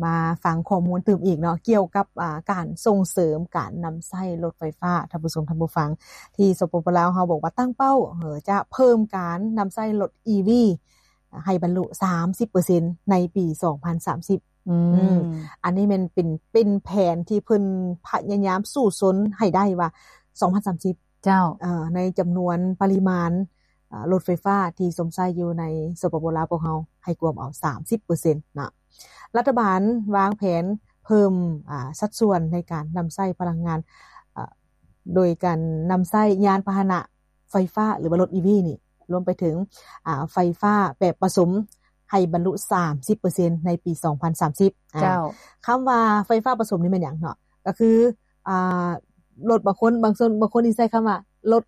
ມາຟັງຂໍ້ມູນຕື່ມອີກເນາະ ກ່ຽວກັບ ອາ ການສົ່ງເສີມການນຳໃຊ້ລົດໄຟຟ້າ. ທ່ານຜູ້ຊົມ ທ່ານຜູ້ຟັງ ທີ່ ສປປ ລາວ ເຮົາບອກວ່າຕັ້ງເປົ້າ ເອີ ຈະເພີ່ມການນຳໃຊ້ລົດ ອີ ວີ ໃຫ້ບັນລຸ ສາມສິບເປີເຊັນ ໃນປີ ສອງພັນສາມສິບ. ອືມ ອັນນີ້ແມ່ນເປັນ ເປັນແຜນທີ່ເພິ່ນພະຍາຍາມສູ້ຊົນໃຫ້ໄດ້ວ່າ ສອງພັນສາມສິບ ເຈົ້າ ເອີ ໃນຈຳນວນປະລິມານ ເອີ ລົດໄຟຟ້າທີ່ຊົມໃຊ້ຢູ່ໃນ ສປປ ລາວ ພວກເຮົາ ໃຫ້ກວມເອົາ ສາມສິບເປີເຊັນ ນະ. ລັດຖະບານວາງແຜນເພີ່ມ ອາ ສັດສ່ວນໃນການນຳໃຊ້ພະລັງງານ ອາ ໂດຍການນຳໃຊ້ຍານພາຫະນະໄຟຟ້າ ຫຼືວ່າລົດ ອີ ວີ ນີ້ ລວມໄປເຖິງ ອາ ໄຟຟ້າແບບປະສົມ ໃຫ້ບັນລຸ ສາມສິບເປີເຊັນ ໃນປີ ສອງພັນສາມສິບ. ອາ ເຈົ້າ ຄຳວ່າໄຟຟ້າປະສົມນີ້ແມ່ນຫຍັງເນາະ? ກໍຄື ອາ ລົດບາງຄົນ ບາງຄົນ ບາງຄົນທີ່ໃຊ້ຄຳວ່າລົດ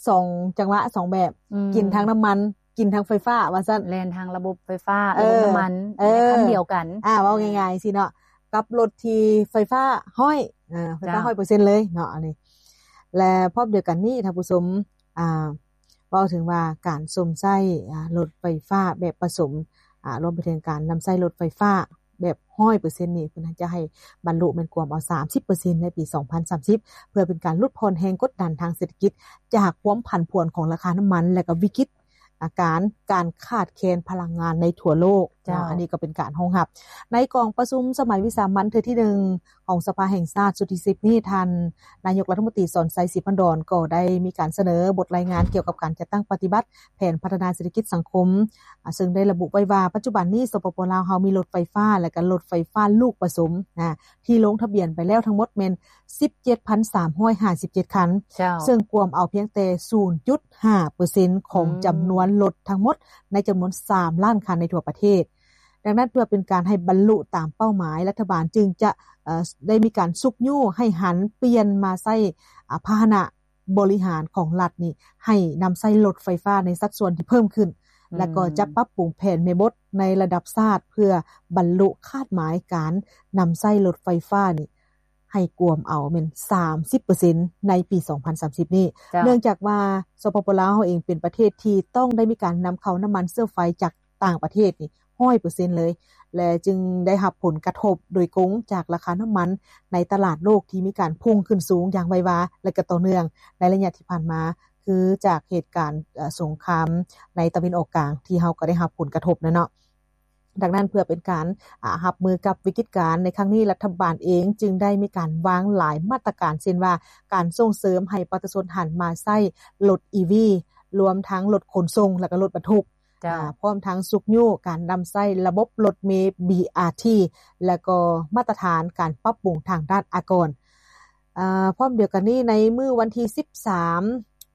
ສອງຈັງຫວະ ສອງແບບ ອືມ ກິນທັງນ້ຳມັນ ກິນທັງໄຟຟ້າ ວ່າຊັ້ນ ແລ່ນທາງລະບົບໄຟຟ້າ ເອີ ລະບົບນ້ຳມັນ ເອີ ໃນຄັນດຽວກັນ. ອາ ເວົ້າງ່າຍໆຊີ້ເນາະ ກັບລົດທີ່ໄຟຟ້າຮ້ອຍ ເອີ ໄຟຟ້າ ເຈົ້າ ຮ້ອຍເປີເຊັນເລີຍເນາະ ອັນນີ້. ແລະ ພ້ອມດຽວກັນນີ້ ທ່ານຜູ້ຊົມ ອາ ເວົ້າເຖິງວ່າການຊົມໃຊ້ ອາ ລົດໄຟຟ້າແບບປະສົມ ອາ ລວມໄປເຖິງການນຳໃຊ້ລົດໄຟຟ້າ ແບບຮ້ອຍເປີເຊັນນີ້ ເພິ່ນຈະໃຫ້ບັນລຸແມ່ນກວມເອົາ ສາມສິບເປີເຊັນ ໃນປີ ສອງພັນສາມສິບ ເພື່ອເປັນການຫຼຸດຜ່ອນແຮງກົດດັນທາງເສດຖະກິດ ຈາກຄວາມຜັນຜວນຂອງລາຄານ້ຳມັນ ແລະ ກໍວິກິດ ອາ ການ ການຂາດແຄນພະລັງງານໃນທົ່ວໂລກ. ເຈົ້າ ເນາະ ອັນນີ້ກໍເປັນການຮອງຮັບ. ໃນກອງປະຊຸມສະໄໝວິສາມັນເທື່ອທີໜຶ່ງ ຂອງສະພາແຫ່ງຊາດຊຸດທີສິບນີ້ ທ່ານນາຍົກລັດຖະມົນຕີ ສອນໄຊ ສີພັນດອນ ກໍໄດ້ມີການສະເໜີບົດລາຍງານກ່ຽວກັບການຈັດຕັ້ງປະຕິບັດແຜນພັດທະນາເສດຖະກິດສັງຄົມ ອາ ເຊິ່ງໄດ້ລະບຸໄວ້ວ່າ ປັດຈຸບັນນີ້ ສປປ ລາວ ເຮົາມີລົດໄຟຟ້າ ແລະ ກໍລົດໄຟຟ້າລູກປະສົມ ອາ ທີ່ລົງທະບຽນໄປແລ້ວທັງໝົດແມ່ນ ສິບເຈັດພັນສາມຮ້ອຍຫ້າສິບເຈັດຄັນ ເຈົ້າ ເຊິ່ງກວມເອົາພຽງແຕ່ ສູນຈຸດຫ້າເປີເຊັນ ຂອງ ອືມ ຈຳນວນລົດທັງໝົດໃນຈຳນວນ ສາມລ້ານຄັນໃນທົ່ວປະເທດ. ດັ່ງນັ້ນ ເພື່ອເປັນການໃຫ້ບັນລຸຕາມເປົ້າໝາຍ, ລັດຖະບານຈຶ່ງຈະ ເອີ ໄດ້ມີການຊຸກຍູ້ໃຫ້ຫັນປ່ຽນມາໃຊ້ ອາ ພາຫະນະບໍລິຫານຂອງລັດນີ້ ໃຫ້ນຳໃຊ້ລົດໄຟຟ້າໃນສັດສ່ວນທີ່ເພີ່ມຂຶ້ນ, ອືມ ແລະ ກໍຈະປັບປຸງແຜນແມ່ບົດໃນລະດັບຊາດ ເພື່ອບັນລຸຄາດໝາຍການນຳໃຊ້ລົດໄຟຟ້ານີ້ ໃຫ້ກວມເອົາແມ່ນ ສາມສິບເປີເຊັນ ໃນປີ ສອງພັນສາມສິບນີ້. ເຈົ້າ ເນື່ອງຈາກວ່າ ສປປ ລາວ ເຮົາເອງເປັນປະເທດທີ່ຕ້ອງໄດ້ມີການນຳເຂົ້ານ້ຳມັນເຊື້ອໄຟຈາກຕ່າງປະເທດນີ້ ຮ້ອຍເປີເຊັນເລີຍ ແລະ ຈຶ່ງໄດ້ຮັບຜົນກະທົບໂດຍກົງຈາກລາຄານ້ຳມັນໃນຕະຫຼາດໂລກທີ່ມີການພຸ່ງຂຶ້ນສູງຢ່າງໄວວາ ແລະ ກໍຕໍ່ເນື່ອງໃນໄລຍະທີ່ຜ່ານມາ ຄືຈາກເຫດການ ເອີ ສົງຄາມໃນຕາເວັນອອກກາງ ທີ່ເຮົາກໍໄດ້ຮັບຜົນກະທົບນະເນາະ. ດັ່ງນັ້ນ ເພື່ອເປັນການ ອາ ຮັບມືກັບວິກິດການໃນຄັ້ງນີ້ ລັດຖະບານເອງຈຶ່ງໄດ້ມີການວາງຫຼາຍມາດຕະການ ເຊັ່ນວ່າ ການສົ່ງເສີມໃຫ້ປະຊາຊົນຫັນມາໃຊ້ລົດ ອີ ວີ ລວມທັງລົດຂົນສົ່ງ ແລະ ກໍລົດບັນທຸກ ເຈົ້າ ອາ ພ້ອມທັງຊຸກຍູ້ການນຳໃຊ້ລະບົບລົດເມ ບີ ອາ ທີ ແລະ ກໍມາດຕະຖານການປັບປຸງທາງດ້ານອາກອນ. ອາ ພ້ອມດຽວກັນນີ້ ໃນມື້ວັນທີສິບສາມ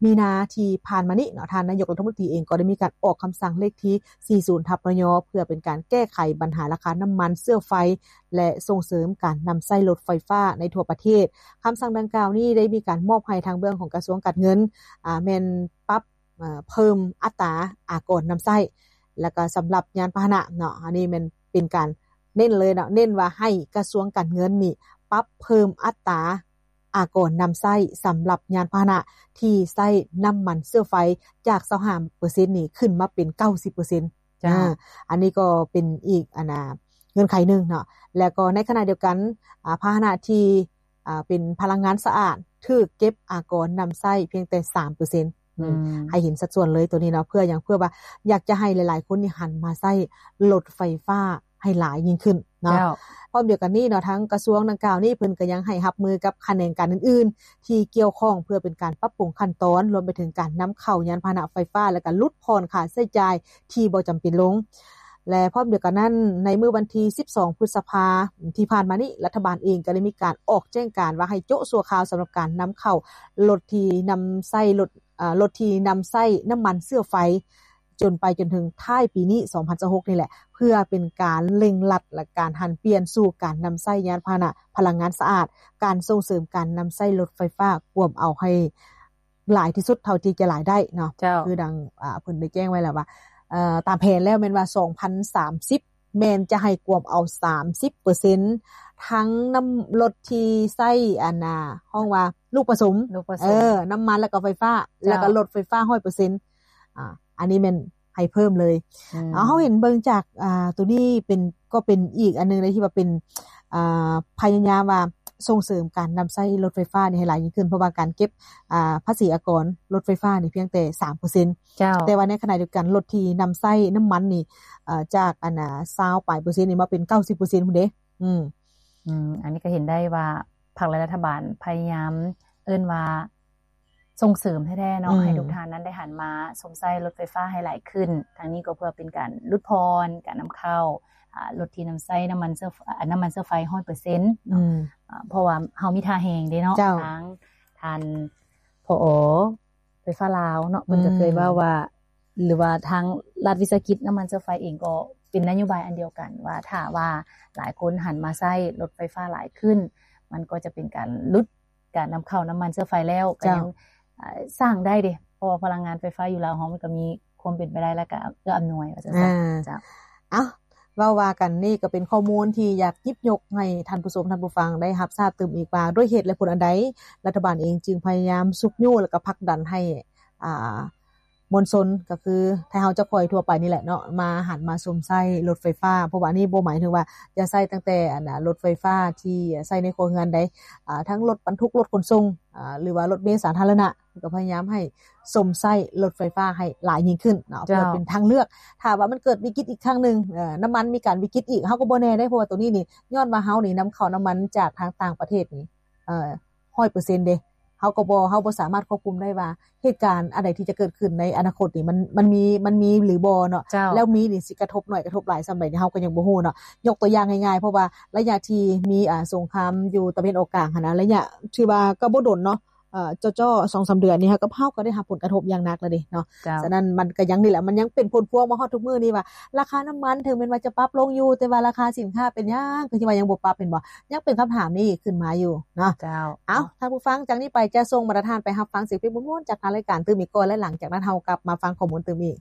ມີນາທີ່ຜ່ານມານີ້ເນາະ ທ່ານນາຍົກລັດຖະມົນຕີເອງກໍໄດ້ມີການອອກຄຳສັ່ງເລກທີສີ່ສິບ ທັບ ນຍ ເພື່ອເປັນການແກ້ໄຂບັນຫາລາຄານ້ຳມັນເຊື້ອໄຟ ແລະ ສົ່ງເສີມການນຳໃຊ້ລົດໄຟຟ້າໃນທົ່ວປະເທດ. ຄຳສັ່ງດັ່ງກ່າວນີ້ໄດ້ມີການມອບໃຫ້ທາງເບື້ອງຂອງກະຊວງການເງິນ ອາ ແມ່ນປັບ ເອີ ເພີ່ມອັດຕາອາກອນນຳໃຊ້ ແລ້ວກໍສຳລັບຍານພາຫະນະເນາະ ອັນນີ້ແມ່ນເປັນການເນັ້ນເລີຍເນາະ ເນັ້ນວ່າໃຫ້ກະຊວງການເງິນນີ້ປັບເພີ່ມອັດຕາອາກອນນຳໃຊ້ສຳລັບຍານພາຫະນະທີ່ໃຊ້ນ້ຳມັນເຊື້ອໄຟ ຈາກ ຊາວຫ້າເປີເຊັນ ນີ້ຂຶ້ນມາເປັນ ເກົ້າສິບເປີເຊັນ. ເຈົ້າ ອາ ອັນນີ້ກໍເປັນອີກ ອັນນ່າ ເງື່ອນໄຂໜຶ່ງເນາະ ແລ້ວກໍໃນຂະນະດຽວກັນ ອາ ພາຫະນະທີ່ ອາ ເປັນພະລັງງານສະອາດ ຖືກເກັບອາກອນນຳໃຊ້ພຽງແຕ່ ສາມເປີເຊັນ. ອືມ ອືມ ໃຫ້ເຫັນສັດສ່ວນເລີຍໂຕນີ້ເນາະ ເພື່ອຫຍັງ? ເພື່ອວ່າຢາກຈະໃຫ້ຫຼາຍໆຄົນນີ້ຫັນມາໃຊ້ລົດໄຟຟ້າໃຫ້ຫຼາຍຍິ່ງຂຶ້ນເນາະ. ເຈົ້າ ພ້ອມດຽວກັນນີ້ເນາະ ທາງກະຊວງດັ່ງກ່າວນີ້ ເພິ່ນກໍຍັງໃຫ້ຮັບມືກັບຂະແໜງການອື່ນໆທີ່ກ່ຽວຂ້ອງ ເພື່ອເປັນການປັບປຸງຂັ້ນຕອນ ລວມໄປເຖິງການນຳເຂົ້າຍານພາຫະນະໄຟຟ້າ ແລະ ກະຫຼຸດຜ່ອນຄ່າໃຊ້ຈ່າຍທີ່ບໍ່ຈຳເປັນລົງ. ແລະ ພ້ອມດຽວກັນນັ້ນ ໃນມື້ວັນທີສິບສອງ ພຶດສະພາທີ່ຜ່ານມານີ້ ລັດຖະບານເອງກໍໄດ້ມີການອອກແຈ້ງການວ່າໃຫ້ໂຈະຊົ່ວຄາວສຳລັບການນຳເຂົ້າລົດທີ່ນຳໃຊ້ລົດ ເອີ ລົດທີ່ນຳໃຊ້ນ້ຳມັນເຊື້ອໄຟ ຈົນໄປຈົນເຖິງທ້າຍປີນີ້ ສອງພັນຊາວຫົກ ນີ້ແຫຼະ ເພື່ອເປັນການເລັ່ງລັດ ແລະ ການຫັນປ່ຽນສູ່ການນຳໃຊ້ຍານພາຫະນະພະລັງງານສະອາດ, ການສົ່ງເສີມການນຳໃຊ້ລົດໄຟຟ້າ ກວມເອົາໃຫ້ ຫຼາຍທີ່ສຸດເທົ່າທີ່ຈະຫຼາຍໄດ້ເນາະ. ເຈົ້າ ຄືດັ່ງ ອາ ເພິ່ນໄດ້ແຈ້ງໄວ້ແລ້ວວ່າ ເອີ ຕາມແຜນແລ້ວແມ່ນວ່າ ສອງພັນສາມສິບ ແມ່ນຈະໃຫ້ກວມເອົາ ສາມສິບເປີເຊັນ ທັງນ້ຳລົດທີ່ໃຊ້ ອັນນ່າ ຮ້ອງວ່າລູກປະສົມ ລູກປະສົມ ເອີ ນ້ຳມັນ ແລ້ວກໍໄຟຟ້າ ເຈົ້າ ແລ້ວກໍລົດໄຟຟ້າ ຮ້ອຍເປີເຊັນ. ອາ ອັນນີ້ແມ່ນ ໃຫ້ເພີ່ມເລີຍ. ເຮົາເຫັນເບິ່ງຈາກ ອ່າ ໂຕນີ້ເປັນ ກໍເປັນອີກອັນໜຶ່ງເດ້ ທີ່ວ່າເປັນ ອ່າ ພະຍາຍາມວ່າສົ່ງເສີມການນຳໃຊ້ລົດໄຟຟ້ານີ້ໃຫ້ຫຼາຍຍິ່ງຂຶ້ນ ເພາະວ່າການເກັບ ອ່າ ພາສີອາກອນລົດໄຟຟ້ານີ້ພຽງແຕ່ສາມເປີເຊັນ ເຈົ້າ ແຕ່ວ່າໃນຂະນະດຽວກັນ ລົດທີ່ນຳໃຊ້ນ້ຳມັນນີ້ ເອີ ຈາກອັນນ່າ ຊາວປາຍເປີເຊັນນີ້ ມາເປັນເກົ້າສິບເປີເຊັນພຸ້ນເດ້. ອືມ ອືມ ອັນນີ້ກໍເຫັນໄດ້ວ່າພັກ ແລະ ລັດຖະບານພະຍາຍາມ ເອີ້ນວ່າສົ່ງເສີມແທ້ໆເນາະ ອືມ ໃຫ້ທຸກທ່ານນັ້ນໄດ້ຫັນມາຊົມໃຊ້ລົດໄຟຟ້າໃຫ້ຫຼາຍຂຶ້ນ. ທາງນີ້ກໍເພື່ອເປັນການຫຼຸດຜ່ອນການນຳເຂົ້າ ອ່າ ລົດທີ່ນຳໃຊ້ນ້ຳມັນເຊື້ອ ອາ ນ້ຳມັນເຊື້ອໄຟຮ້ອຍເປີເຊັນເນາະ ອືມ ເພາະວ່າເຮົາມີທ່າແຮງເດ້ເນາະ ເຈົ້າ ທາງທ່ານ ຜອ ໄຟຟ້າລາວເນາະ ເພິ່ນກໍເຄີຍເວົ້າວ່າ ອືມ ຫຼືວ່າທາງລັດວິສາຫະກິດນ້ຳມັນເຊື້ອໄຟເອງກໍເປັນນະໂຍບາຍອັນດຽວກັນ ວ່າຖ້າວ່າຫຼາຍຄົນຫັນມາໃຊ້ລົດໄຟຟ້າຫຼາຍຂຶ້ນ ມັນກໍຈະເປັນການຫຼຸດການນຳເຂົ້ານ້ຳມັນເຊື້ອໄຟແລ້ວ ກໍ ເຈົ້າ ຍັງ ເອີ ສ້າງໄດ້ເດ້ ເພາະວ່າພະລັງງານໄຟຟ້າຢູ່ລາວເຮົາມັນກໍມີຄວາມເປັນໄປໄດ້ ແລ້ວກໍເອື້ອອຳນວຍວ່າຊັ້ນຊະ ອ່າ ເຈົ້າ. ເອົ້າ ເວົ້າວ່າກັນ ນີ້ກໍເປັນຂໍ້ມູນທີ່ຢາກຫຍິບຍົກໃຫ້ທ່ານຜູ້ຊົມທ່ານຜູ້ຟັງໄດ້ຮັບຊາບຕື່ມອີກວ່າ ດ້ວຍເຫດແລະຜົນອັນໃດ ລັດຖະບານເອງຈຶ່ງພະຍາຍາມຊຸກຍູ້ ແລ້ວກໍຜັກດັນໃຫ້ ອ່າ ມວນຊົນ ກໍຄືໄທເຮົາເຈົ້າຂ້ອຍທົ່ວໄປນີ້ແຫຼະເນາະ ມາຫັນມາຊົມໃຊ້ລົດໄຟຟ້າ ເພາະວ່າອັນນີ້ບໍ່ໝາຍເຖິງວ່າຈະໃຊ້ຕັ້ງແຕ່ອັນນ່າ ລົດໄຟຟ້າທີ່ໃຊ້ໃນຄົວເຮືອນໃດ ອ່າ ທັງລົດບັນທຸກ ລົດຂົນສົ່ງ ອ່າ ຫຼືວ່າລົດເມສາທາລະນະ ກໍພະຍາຍາມໃຫ້ຊົມໃຊ້ລົດໄຟຟ້າໃຫ້ຫຼາຍຍິ່ງຂຶ້ນເນາະ ເຈົ້າ ເພື່ອເປັນທາງເລືອກ ຖ້າວ່າມັນເກີດວິກິດອີກຄັ້ງໜຶ່ງ ເອີ ນ້ຳມັນມີການວິກິດອີກ ເຮົາກໍບໍ່ແນ່ເດ້ ເພາະວ່າໂຕນີ້ນີ້ ຍ້ອນວ່າເຮົານີ້ນຳເຂົ້ານ້ຳມັນຈາກທາງຕ່າງປະເທດນີ້ ເອີ ຮ້ອຍເປີເຊັນເດ້ ເຮົາກໍບໍ່ ເຮົາບໍ່ສາມາດຄວບຄຸມໄດ້ວ່າ ເຫດການອັນໃດທີ່ຈະເກີດຂຶ້ນໃນອະນາຄົດນີ້ ມັນ ມັນມີ ມັນມີຫຼືບໍ່ເນາະ ເຈົ້າ ແລ້ວມີນີ້ຊິກະທົບໜ້ອຍກະທົບຫຼາຍສ່ຳໃດນີ້ ເຮົາກໍຍັງບໍ່ຮູ້ເນາະ. ຍົກຕົວຢ່າງງ່າຍໆ ເພາະວ່າໄລຍະທີ່ມີ ອ່າ ສົງຄາມຢູ່ຕາເວັນອອກກາງຫັ້ນນະ ໄລຍະຖືວ່າກໍບໍ່ດົນເນາະ ເອີ ເຈາະໆ ສອງສາມເດືອນນີ້ ເຮົາກໍ ເຮົາກໍໄດ້ຮັບຜົນກະທົບຢ່າງໜັກແລ້ວເດ້ເນາະ. ເຈົ້າ ສະນັ້ນມັນກໍຍັງນີ້ແຫຼະ ມັນຍັງເປັນຜົນພວງມາຮອດທຸກມື້ນີ້ວ່າ ລາຄານ້ຳມັນເຖິງແມ່ນວ່າຈະປັບລົງຢູ່ ແຕ່ວ່າລາຄາສິນຄ້າເປັນຫຍັງ ຄືຊິວ່າຍັງບໍ່ປັບ ແມ່ນບໍ່? ຍັງເປັນຄຳຖາມນີ້ຂຶ້ນມາຢູ່ເນາະ. ເຈົ້າ ເອົ້າ ເນາະ ທ່ານຜູ້ຟັງ ຈາກນີ້ໄປຈະສົ່ງບັນດາທ່ານໄປຮັບຟັງສຽງເພງມ່ວນໆ ຈາກທາງລາຍການຕື່ມອີກກ່ອນ ແລະ ຫຼັງຈາກນັ້ນເຮົາກັບມາຟັງຂໍ້ມູນຕື່ມອີກ.